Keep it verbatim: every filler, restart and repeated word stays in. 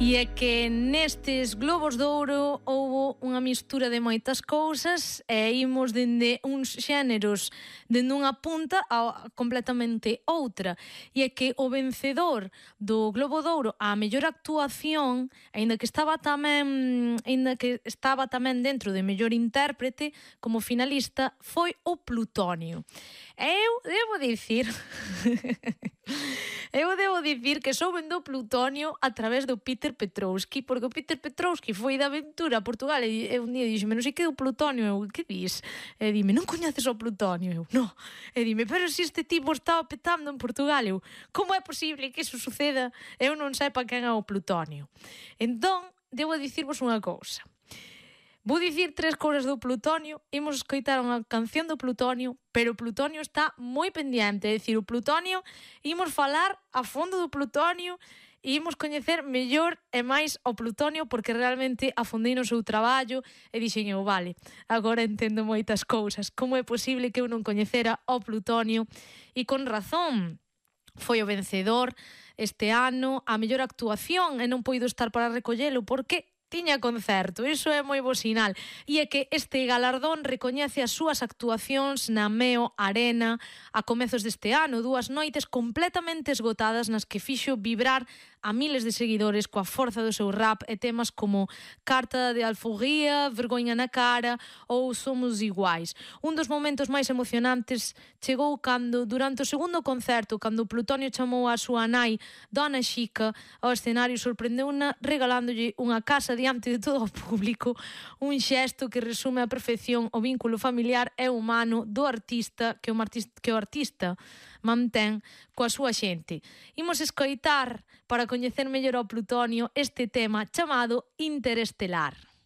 E é que nestes Globos de Ouro houbo unha mistura de moitas cousas e imos dende uns xéneros dende unha punta a completamente outra. E é que o vencedor do Globo de Ouro á mellor actuación, aínda que estaba tamén aínda que estaba tamén dentro de mellor intérprete, como finalista foi o Plutonio. E eu debo dicir eu debo dicir que souben do Plutonio a través do Peter Petrovski, porque o Peter Petrovski foi de aventura a Portugal e, e un día dixeme, non sei que é o Plutonio, eu, que dis? E dime, non coñeces o Plutonio? Eu, no. E dime, pero se este tipo estaba petando en Portugal, eu, como é posible que iso suceda? Eu non sepa quen é o Plutonio. Entón, debo dicirvos unha cousa. Vou dicir tres cousas do Plutonio, imos escoitar unha canción do Plutonio, pero o Plutonio está moi pendiente, é dicir, o Plutonio, imos falar a fondo do Plutonio e imos coñecer mellor e máis o Plutonio porque realmente afondei no seu traballo e dixen eu, vale, agora entendo moitas cousas, como é posible que eu non coñecera o Plutonio e con razón foi o vencedor este ano a mellor actuación e non poido estar para recollelo porque tiña concerto, iso é moi bo sinal. E é que este galardón recoñece as súas actuacións na Meo Arena a comezos deste ano, dúas noites completamente esgotadas nas que fixo vibrar a miles de seguidores coa forza do seu rap e temas como Carta de Alforría, Vergoña na cara ou Somos Iguais. Un dos momentos máis emocionantes chegou cando, durante o segundo concerto, cando o Plutonio chamou a súa nai, Dona Xica, ao escenario sorprendeuna regalándolle unha casa diante de todo o público, un xesto que resume a perfección o vínculo familiar e humano do artista que o, artista, que o artista mantén coa súa xente. Imos escoitar, para coñecer mellor ao Plutonio, este tema chamado Interestelar.